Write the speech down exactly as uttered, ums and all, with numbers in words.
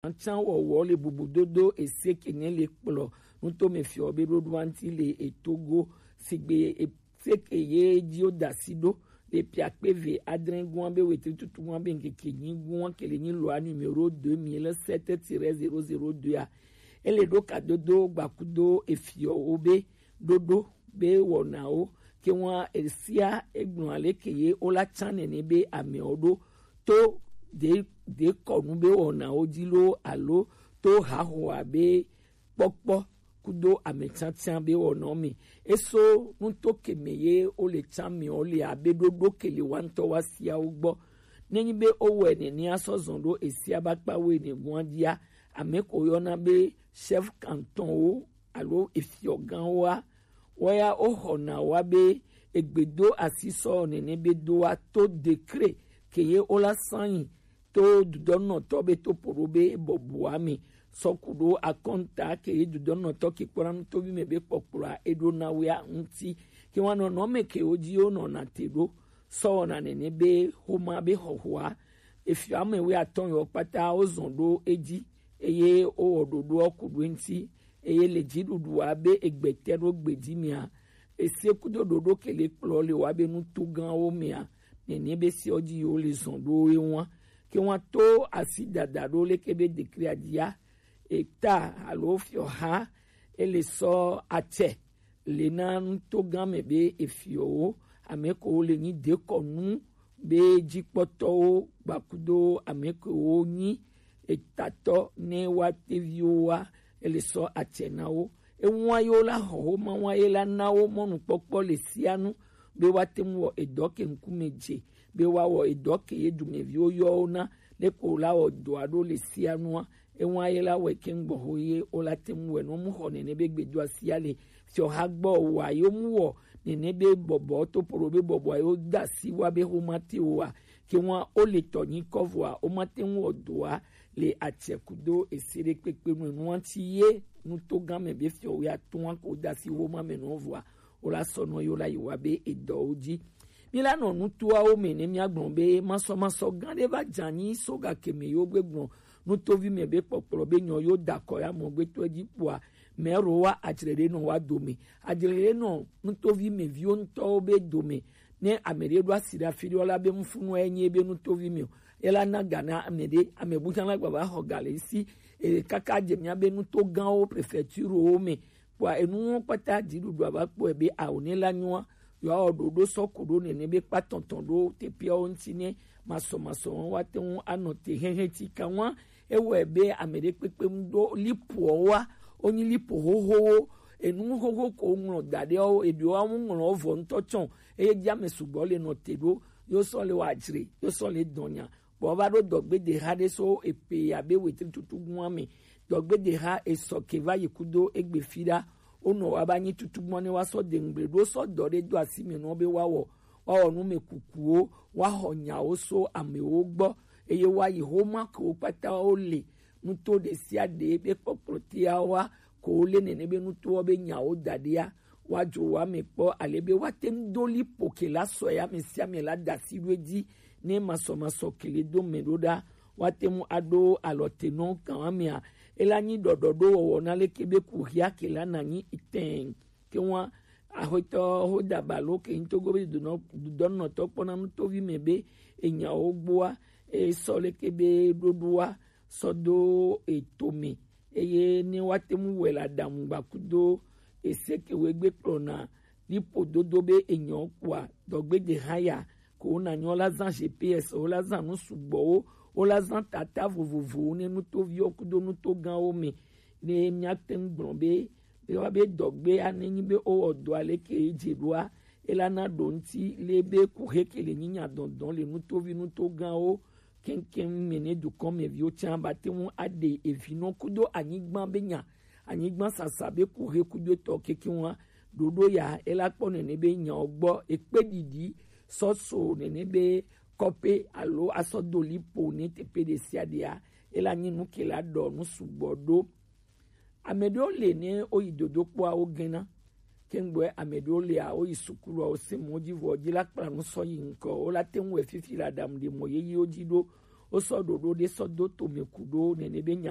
Can wɔwɔ le bubudodo ese ke ne le kplɔ nutome fiɔ be ɖoɖo anti le etogo sigbe ese ke ye ji wo da si ɖo le piakpe ve adre gua be wetri tutu gua be nkeke nyi gua ke le nyi lɔa numéro deux mille sept tiret zéro zéro deux a. Ele ɖo kadodo gbakudo efiɔwo be ɖoɖo be wɔnawo ke ŋua esia egblɔ ale ke ye wo la tsa nene be amewo ɖo to de de kɔnu be wɔnawo dzi lo alo to hahoa be kpɔkpɔ kudo ametiatia be wɔnawo me. Eso nuto ke me ye wo le tsa mewo le abe ɖoɖo ke le wa ŋutɔ wa siawo gbɔ. Nenyi be wowɔe nenea sɔ zɔn ɖo esia ba kpa wo ene gua dzia, ame ko yɔna be chef canton wo alo efiɔganwoa, woya woxɔna wa be egbedo asi sɔ nene be do wa to décret ke ye wola sanyi to dudɔnɔtɔ be to poɖo be bɔbɔa me sɔ ku ɖo akɔnta ke ye dudɔnɔtɔ ke kpɔna nutovi me be kpɔkplɔa eɖo na wea ŋuti ke wa nɔnɔ me ke wo dzi wo nɔna te ɖo sɔ wɔna nene be xoma be xɔxɔa efiɔ ame wea tɔn yɔ kpata wo zɔn ɖo edzi eye wowɔ ɖoɖoa ku ɖo eŋuti eye le dziɖuɖua be egbete ɖo gbedzi mea, ese kudo ɖoɖo ke le kplɔ le wa be nuto gãwo mea, nene be se dzi yo le zɔn ɖo ye wa ke wa to asi dada ɖo leke be dekria dzia eta alo fiɔha ele sɔ atsɛ le na nuto gã me be efiɔwo ame ko le nyi dekɔnu be dzikpɔtɔwo gbakudo ame ko nyi etatɔ ne wa teviwo wa ele sɔ atsɛ na wo. Ewa yo la xɔ wo ma wa ye la na wo mɔnukpɔkpɔ le sia nu be wa te ŋu wɔ edɔ ke ŋkume dze be wa wɔ edɔ ke ye dumeviwo yɔ wo na le ko la wɔ dɔa ɖo le sia nua. Ewa ye la wɔ ke ŋgbɔ ho ye wo la te ŋu wɛ no mu xɔ nene be gbedoa sia le fiɔ ha gbɔ wa yo mu wɔ nene be bɔbɔ to poro be bɔbɔ yo da si wa be ho ma te wa ke wa o le tɔ nyi kɔvoa o ma te ŋu wɔ dɔa le atsɛ kudo ese ɖe kpekpe nu nua ti ye nuto gã me be fiɔ wea tɔa ko da si wo ma me no voa o la sɔ nɔ yo la yi wa be edɔwo dzi. Mi la nɔ nutoawo me ne mia gblɔ be masɔmasɔ gã ɖe va dza nyi so ga ke me yo gbe gblɔ nutovi me be kpɔkplɔ be nyɔ yo da kɔ ya mɔ gbe to edzi kpoa mɛ ro wa adzre ɖe nɔ wa dome adzre ɖe nɔ nutovi me viwo ŋutɔwo be dome ne ame ɖe ɖo asi ɖe afi ɖe la be ŋfunu enye be nutovi me o ela na ga na ame ɖe ame bu tsã la gba va xɔ ga le si e kaka dze mia be nuto gãwo préfecture wo me kpɔa enuwo kpata dziɖuɖua va kpɔe be awo ne la nyoa yɔ awɔ ɖoɖo sɔ ko ɖo nene be kpa tɔntɔn ɖo teƒeawo ŋuti ne masɔmasɔ wa te ŋu anɔ te hehe ti ka wa ewɔe be ame ɖe kpekpe ŋu ɖo lipoawoa wonyi lipo xoxowo enu xoxo ko ŋlɔ da ɖe wo eɖewo awu ŋlɔ vɔ ŋutɔ tsɔ eye dzi ame sugbɔ le nɔ te ɖo yo sɔ le wa dzre yo sɔ le dɔnya bɔ va ɖo dɔgbedeha ɖe so epe abe wetri tutu gua me dɔgbedeha esɔ ke va yi kudo egbe fi ɖa wonɔ wa ba nyi tutu gbɔ ne wa sɔ de ŋgble ɖo sɔ dɔ ɖe do asi me nɔ be wa wɔ wa wɔ nu me kukuwo wa xɔ nyawo so amewo gbɔ eye wa yi xoma kewo kpata wo le nuto ɖe sia ɖe be kpɔkplɔ tea wa ko wo le nene be nutowo be nyawo da ɖea wa dzo wa me kpɔ ale be wa te ŋu do lipo ke la sɔ ya me sia me la da si ɖo edzi ne masɔmasɔ kele do me ɖo ɖa wa te ŋu aɖo alɔ te nɔ kan wa mea ela nyi ɖɔɖɔ ɖo wɔwɔ na leke be ku hia ke la na nyi itɛn ke wa axɔtɔ ho da ba lo ke ŋtogo be dudɔnɔtɔ kpɔna nutovi me be enyawo gboa esɔ leke be ɖoɖoa sɔ do eto me eye ne wa te ŋu wɛ la ɖamu gbakudo ese ke wo egbe kplɔna lipo dodo be enyɔ kpoa dɔgbedeha ya ko wo na nyɔ la zan G P S wo la zan nu sugbɔwo wo la zan tata vovovowo ne nutoviwo kudo nuto gãwo me ne mia te ŋu gblɔ be be wa be dɔgbe ane nyi be wo wɔ dɔ ale ke dze ɖoa ela na ɖo ŋuti le be ku he ke le nyi nya dɔndɔn le nutovi nuto gãwo keŋkeŋ me ne dukɔ me viwo tsã ba te ŋu aɖe evinɔ kudo anyigba be nya anyigba sasa be ku he kudo etɔ kekeŋ wa ɖoɖo ya ela kpɔ nene be nyawo gbɔ ekpe ɖiɖi sɔso nene be kɔpe alo asɔ do lipo ne teƒe ɖe sia ɖea ela nyi nu ke la ɖɔ nu sugbɔ ɖo. Ame ɖewo le ne woyi dodokpoa wo gena. Kengbe ame ɖewo lea woyi sukulu wo se mo dzi vɔ dzi la kpla nu sɔ yi ŋkɔ wo la te ŋu wɔ fifi la ɖam ɖe mɔ yeyewo dzi ɖo Wo sɔ ɖoɖo ɖe sɔ do to mi ku ɖo nene be nya